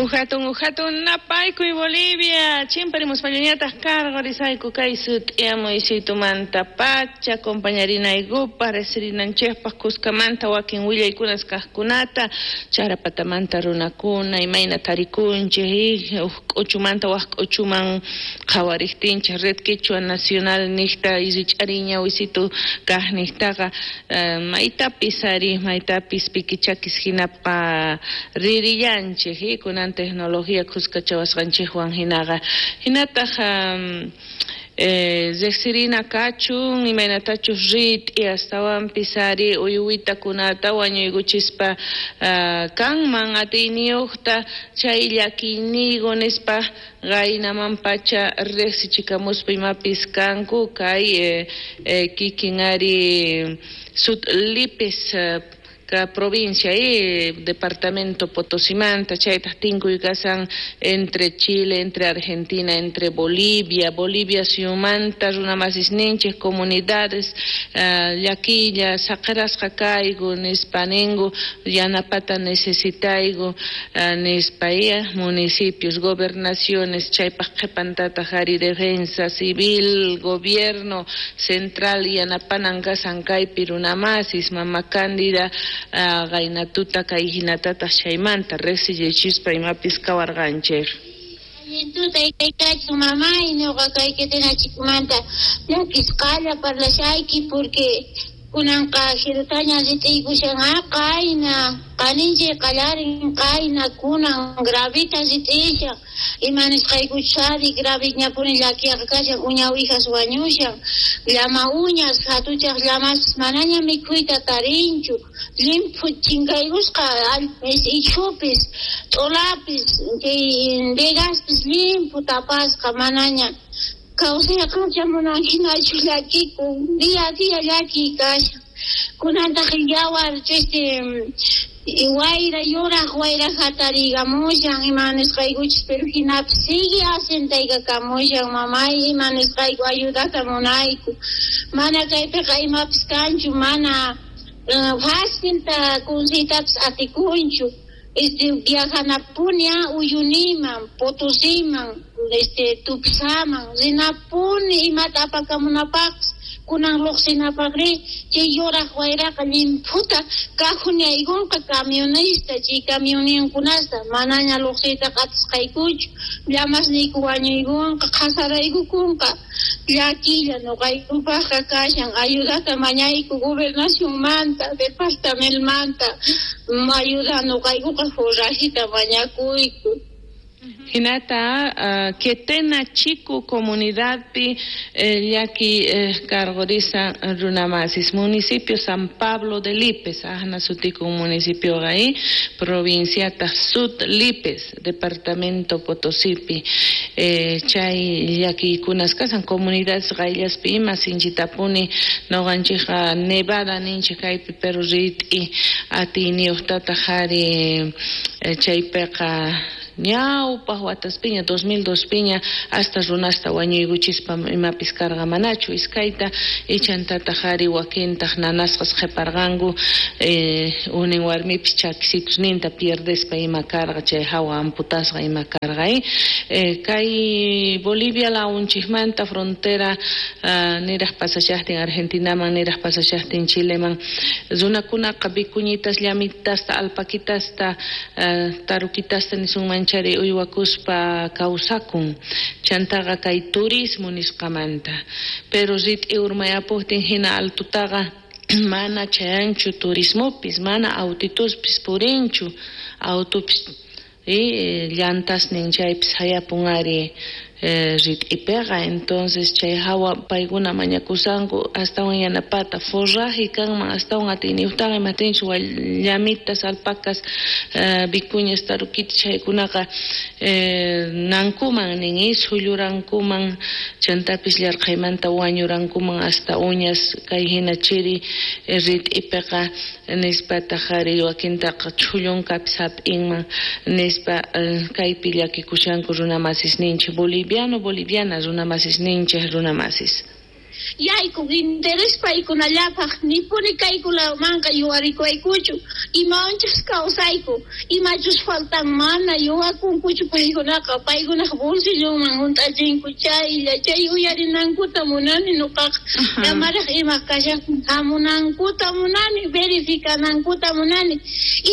Ujatun, ujatun, napaykuy Bolivia, chimparimuspallañataq cargorisayku kay sut'iyamuy pacha, compañarinaykupaq, resirinanchikpaq kuskamanta wakin willaykunas kaqkunata, charapatamanta runakuna, imayna tarikunchik, uj k'uchumanta waj k'uchuman qhawariqtinchik, Red Quechua Nacional niqta rich'ariña wisitu kaq niqtaqa, maytapis ari, maytapis pikichakis hinapa ririllanchik, kunan tecnología kuskachawasqanchikwan hinaqa. Hinataq riqsirina kachun, imaynatachus rit'i astawanpis ari uywitakunata wañuykuchispa kanman atiyniyuqta chay llakiyniyku nispa qaynaman pacha riqsichikamuspa imapis kanku kay kikin ari Sud Lipes provincia y departamento Potosimanta, chaytaq tinkuy kasan entre Chile, entre Argentina, entre Bolivia, Bolivia suyumanta runamasisninchik comunidades llakilla saqirasqa kayku nispa ninku yanapata necesitayku nispa municipios, gobernaciones, chaypaq qhipantataq ari defensa civil, gobierno central yanapanan kasan kaypi runamasis, mama Cándida qaynatuta kay hinatataq chaymanta riqsiyachispa imapis kawarqanchik. Allintuta kachun mamay, ñuqa kay Quetenachikumanta llakisqalla parlashayki porque kunanqa jirutaña rit'iykushan qayna qaninchik qallarin qayna kunan gravita rit'ishan ima nisqaykuchari graviñapuni llakiyaqa kashan uña uwijas wañushan llama uñas hatuchaq llamas manaña mikhuyta tarinchu llimphu chinkaykusqa ichhupis t'ulapis chay vegaspis llimphu tapasqa manaña kawsayqa munan hinachu llakikun día a día llakiy kashan kunantaq yawar wayra yuraq wayra hatariykamushan ima nisqaykuchis pero hinapis sigue asentaykamushan mamay ima nisqayku ayudata munayku mana kaypiqa imapis kanchu mana facilta consiytapis atikunchu viajanapuni Uyuniman, Potosiman, Tupsaman, rinapuni imata apakamunapaqpis kunan lluqsinapaqri chay yuraq wayraqa llimphuta kajunaykunqa camionista chay camionninkunasta manaña lluqsiytaqa atisqaykuchu llamasniyku wañuykunqa qhasaraykukunqa llakilla ñuqaykupaqqa kashan ayudata mañayku gobernacionmanta departamentomanta ayuda ñuqaykuqa forrajita mañakuyku. Hinata Quetena Chico comunidadpi llaki cargorisa runamasis municipio San Pablo de Lipes ahna sutiku municipio ahí provincia Sud Lipes departamento Potosipi chay llaki kunas kasan comunidades qayllaspi ima sinchitapuni noqanchikqa nevada ninchik kaypi pero rit'i atiyniyuqtataq ari chaypiqa ñawpaq wataspiña 2002 piña hasta runasta wañuykuchispa imapis karqa manachu iskayta ichantataq ari wakintaq nanasqas qhiparqanku unin warmipis chakisitusninta pierdespa ima karqa chay hawa amputasqa ima karqa kay Bolivia launchikmanta frontera niraq pasashaqtin Argentinaman niraq pasashaqtin Chileman runakunaqa vicuñitas llamitasta alpaquitasta tarukitasta nisunman chari uywakuspa kawsakun chantaqa kay turismo nisqamanta pero rit'i urmayapuqtin hina altutaqa mana chayanchu turismopis mana autituspis purinchu autopis llantasnin chaypis hayapun ari rit'ipiqa entonces chay hawa paykuna mañakusanku astawan yanapata forraje kanman astawan atiyniyuqtaqa imatinchu llamitas alpacas vicuñas tarukitas chaykunaqa nankuman nin sullurankuman chantapis llarqhaymanta wañurankuman hasta uñas kay hina chiri rit'ipiqa nispataq ari wakintaqa chhullunkapis hap'inman nispa kaypi llakikushanku runamasis ninchik boliviano boliviana runamasis ninchik runamasis. Yaykun interés paykunallapaq, nipuni kaykunamanqa yuwarikuwaykuchu. Imawanchus kawsayku, imachus faltan mana yuwakunkuchu paykunaqa, paykunaq bolsillonman hunt'achinku chaylla, chay uyarinankuta munani nuqaqa. Llamaraq ima kashaqtin hamunankuta munani, verificanankuta munani,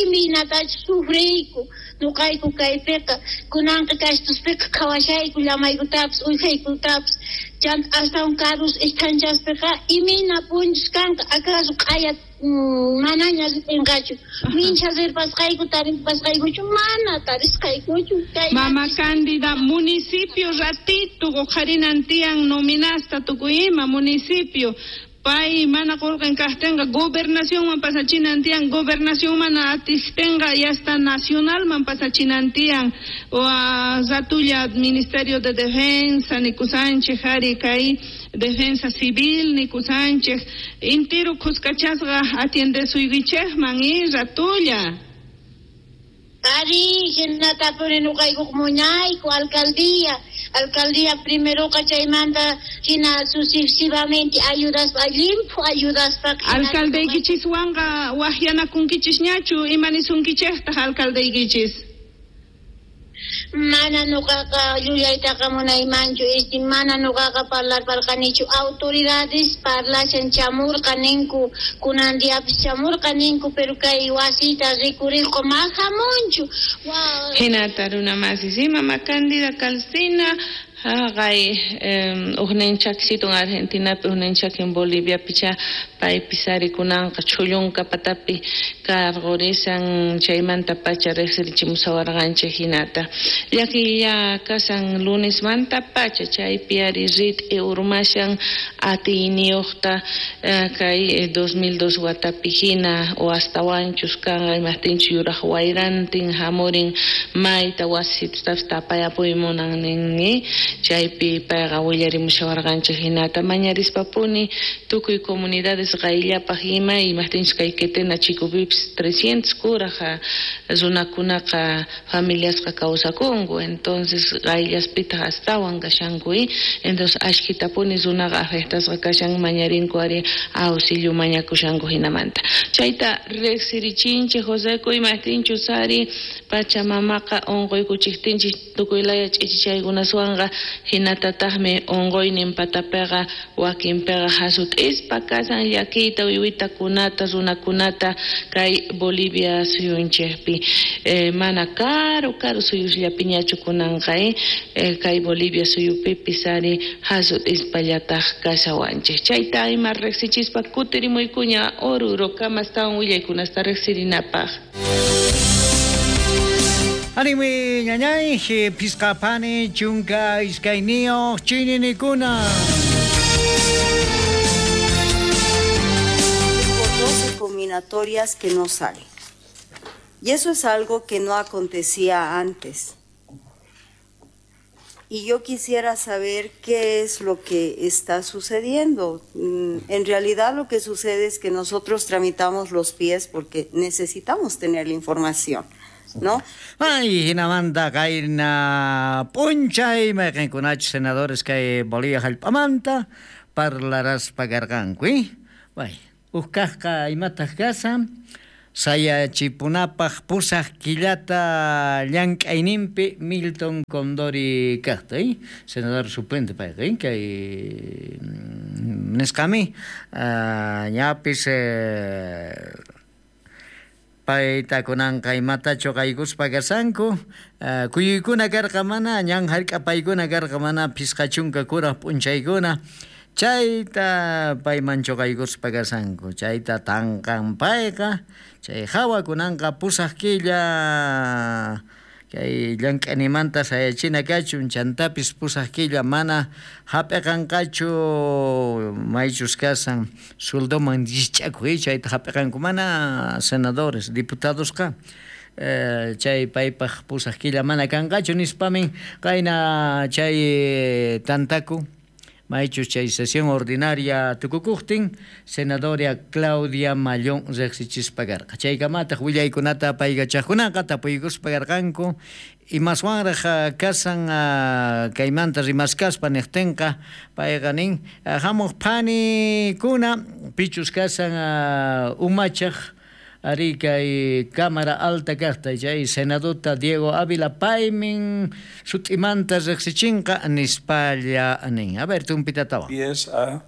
imaynatachus sufriyku nuqayku kaypiqa, kunanqa kastuspiqa qhawashayku llamaykutapis uwijaykutapis, chanta astawan karus esthanchaspiqa imayna punchus kanqa, acaso q'aya manaña ripinqachu, mincha rirpasqayku taripasqaykuchu mana tarisqaykuchu. Mama Cándida, municipio ratito uqharinan tiyan nominasta tukuy ima municipio pay mana qullqin kaqtinqa gobernacionman pasachinan tiyan, gobernación mana atiqtinqa ya hasta nacionalman pasachinan tiyan, ratulla Ministerio de Defensa nikusanchej ari kay Defensa Civil nikusanchej intiru khuskachasqa atiendesuykichejman y ratulla. Ari, hinatapuni nuqaykuq muñayku alcaldía, alcaldía primeroqa chaymanta hina sucesivamente ayudaspa llimphu ayudaspa. Alcaldeykichiswanqa waqyanakunkichisñachu, ima nisunkichejtaq alcaldeykichis? Mana nuqaqa llullaytaqa munaymanchu, mana nuqaqa parlarparqanichu, autoridades parlashan chamurqa ninku, kunan diapis chamurqa ninku, pero kay wasita rikuriqqa ma hamunchu. Hinata runa masis, Mama Cándida Calcina, haqay ujnin chakisitun Argentinapi, ujnin chakin Boliviapi cha paypis ari kunanqa chhullunka patapi karqurisan chaymanta pacha riqsirichimusawarqanchik hinata. Llakiylla kasan lunesmanta pacha chaypi ari rit'i urmashan atiyniyuqta kay 2002 watapi hina o astawanchus kanqa imaqtinchus yuraq wayrantin hamurin mayta wasitutapis tapayapuy munan ninni. Chaypi payqa willarimushawarqanchik hinata mañarispapuni tukuy comunidades qayllapaq ima imaqtinchus kay Quetena chikupipis 300 kuraqa runakunaqa familiasqa kawsakunku, entonces qayllaspitaq astawan kashanku, entonces ashkitapuni runaqa afectasqa kashan mañarinku ari auxilio mañakushanku hinamanta. Chayta riqsirichinchik Joseco imaqtinchus ari Pachamamaqa unquykuchiktinchik tukuy laya ch'ichichaykunaswanqa hinatataqmi unquynin patapiqa wakinpiqa hasut'ispa kasan llakiyta uywitakunata runakunata kay Bolivia suyunchikpi mana karu karu suyusllapiñachu kunanqa kay Bolivia suyupipis ari hasut'ispallataq kashawanchik. Chayta ima riqsichispa kutirimuykuña Oruro kamastawan willaykunasta riqsirinapaq. Anime ñañay, piscapani, chunka, iskainio, chininikuna. Por 12 combinatorias que no salen. Y eso es algo que no acontecía antes. Y yo quisiera saber qué es lo que está sucediendo. En realidad lo que sucede es que nosotros tramitamos los pies porque necesitamos tener la información, ¿no? Ay, hinamanta kayna p'unchay mayqinkunachu senadores kay Bolivia hallp'amanta parlaraspa karqanku, Bay, huk kaqqa imataq kasan sayachipunapaq pusaq killata llank'ayninpi Milton Condori kaqta, senador suplente payqa, kay nisqami ñapis payta kunanqa imatachu qaykuspa kasanku kuyuykuna karqa mana ñan hark'apaykuna karqa mana phisqa chunka kuraq p'unchaykuna chayta payman chuqaykuspa kasanku chayta tanqan payqa chay hawa kunanqa pusaq killa kay llank'animanta sayachina kachun chantapis pusaq killa mana hap'iqanqachu maychus kasan sueldoman llich'akuy chayta hap'iqanku mana senadores diputadosqa chay paypaq pusaq killa mana kanqachu nispamin qayna chay tantaku Maychus chay sesión ordinaria tukukuqtin senadora Claudia Mallón riqsichispa karqa. Chaykamataq willaykunata apaykachaqkunaqa tapuykuspa karqanku imaswanraq kasan kaymanta rimaskaspa niqtinqa payqa nin hamuq phanikuna pichus kasan umachaq ari kay Cámara Alta kaqta chay senadota Diego Ávila paymin sut'imanta riqsichinqa nispalla nin. A ver, tumpitatawan. Pies a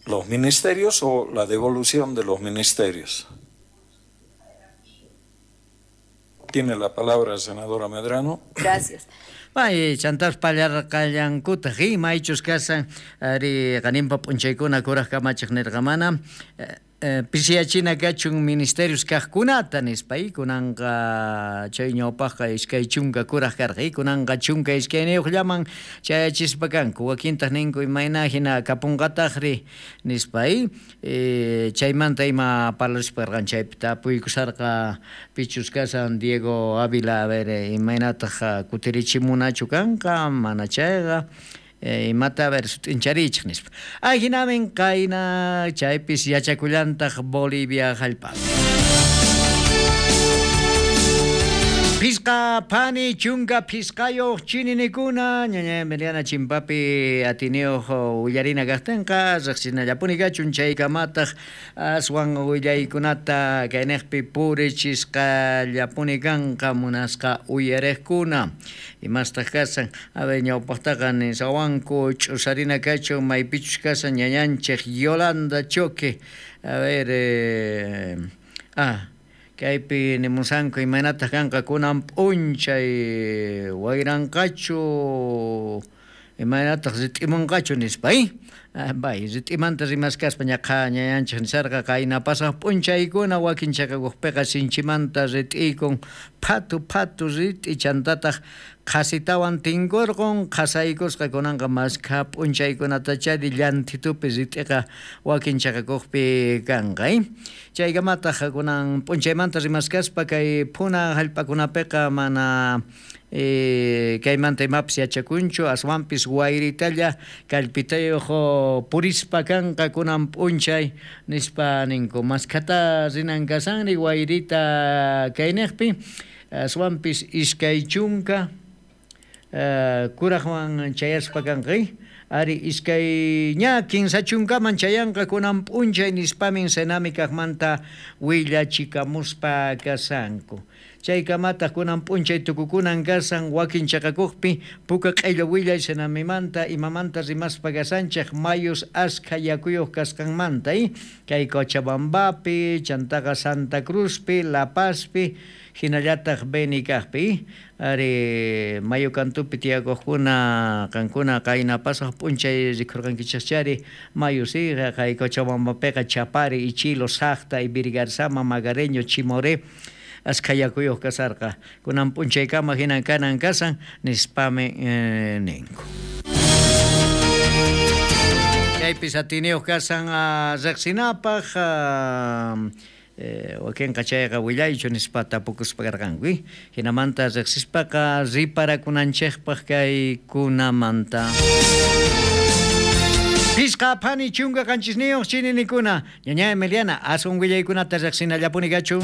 los ministerios o la devolución de los ministerios. Tiene la palabra, senadora Medrano. Gracias. Bay, chantas pallarqallankutaq maychus kasan ari qaninpa p'unchaykuna kuraq kamachiq nirqamana pisiyachina kachun ministerios kaqkunata nispa kunanqa chay ñawpaqqa 20 kuraq karqa kunanqa 12 llaman chayachispa kanku wakintaq ninku imayna hina kapunqataqri nispa chaymanta ima parlaspa karqan chaypi tapuykusarqa pichus kasan Diego Ávila a ver imaynataq kutirichimunachu kanqa mana chayqa imata a ver sut'incharichik nispa. Ajinamin qayna chaypis yachakullantaq Bolivia hallp'api. Pisqa phani chunka pisqayuq chininikuna ñaña Emiliana chimpapi atiniyuq willarina kaqtinqa riqsinallapuni kachun chaykamataq aswan willaykunata kayniqpi purichisqallapuni kanqa munasqa uyariqkuna imastaq kasan a ver ñawpaqtaqa nisawanku ch'usarina kachun maypichus kasan ñañanchik Yolanda Choque a ver kaypi nimusanku imaynataq kanqa kunan p'unchay wayranqachu imaynataq rit'imunqachu nispa bay rit'imanta rimaskaspa ñaqa ñañanchik nisarqa qayna pasaq p'unchaykuna wakin chaqakuqpiqa sinchimanta rit'iykun phatu phatu rit'i chantataq qhasitawan tinkurqun qhasaykusqa kunanqa maskha p'unchaykunatachari llanthitupi rit'iqa wakin chaqakuqpi kanqa chaykamataq kunan p'unchaymanta rimaskaspa kay phuna hallp'akunapiqa mana kaymanta imapis yachakunchu aswanpis wayritalla kallpitayuq purispa kanqa kunan p'unchay nispa ninku maskhata rinan kasanri wayrita kayniqpi aswanpis 20 kuraqwan chayaspa kanqa ari iskay ña 30 chayanqa kunan p'unchay nispamin Senami kaqmanta willachikamuspa kasanku. Chaykamataq kunan p'unchay tukukunan kasan wakin chaqakuqpi puka q'illu willay Senamimanta imamanta rimaspa kasanchik mayus askha yakuyuq kasqanmanta kay Cochabambapi chantaqa Santa Cruzpi La Pazpi hinallataq Beni kaqpi ari mayu kantupi tiyakuqkuna qankuna qayna pasaq p'unchay rikurqankichikchari mayu si kay Cochabambapiqa Chapari, Ichilo, Saqta, Ivirgarzama, Magareño, Chimoré askha yakuyuq kasarqa kunan p'unchaykama hinan kanan kasan nispami ninku. Chaypis atiniyuq kasan riqsinapaq wakinqa chayqa willaychu nispa tapukuspa karqanku hinamanta riqsispaqa riparakunanchikpaq kaykunamanta. Pisqa phani 17 chininikuna ñaña Emiliana aswan willaykunata riqsinallapuni kachun.